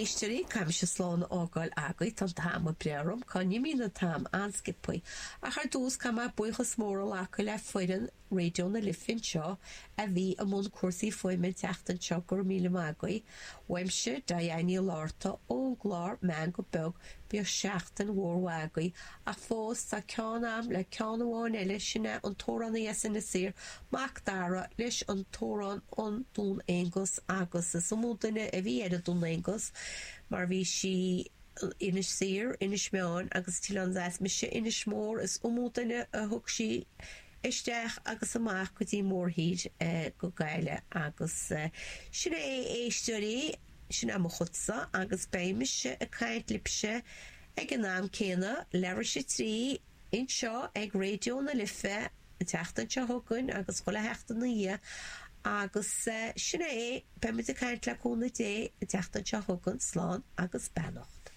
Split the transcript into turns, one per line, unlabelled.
éisteoirí, caithfidh mise slán a fhágáil agaibh, tá an t-am ag breith orm, cá n-imíonn an t-am an-sciobthaí. Ach ar dtús, caithfidh mé buíochas mór a ghlacadh le foireann Raidió na Life anseo a bhí i mbun cúrsaí fuaime an tseachtain seo, go raibh míle maith agaibh. Uaimse, Diane Ní Fhlatharta, ón gclár Meangadh Beag, bíodh seachtain mhór mhaith agaibh. Ach fós, tá ceann a'm le ceann amháin eile, sin é an t-amhránaí as Inis Oírr, Mac Dara, leis an t-amhrán An Dún Aonghus agus is iomaí duine a bhí ar an Dún Aonghus mar bhí sí Inis Oírr, Inis Meáin agus an tOileán Deas, mise Inis Mór, is iomaí duine a thug sí isteach agus amach go dtí mórthír go Gaillimh agus sin é a éisteoirí, sin é mo chudsa agus beidh mise ag caint libhse ag an am céanna, leathuair tar éis 3, anseo ag Raidió na Life an tseachtain seo chugainn agus chuile sheachtain ina dhiaidh agus sin é, beidh muid ag caint le cúnamh Dé an tseachtain seo chugainn, slán agus beannacht.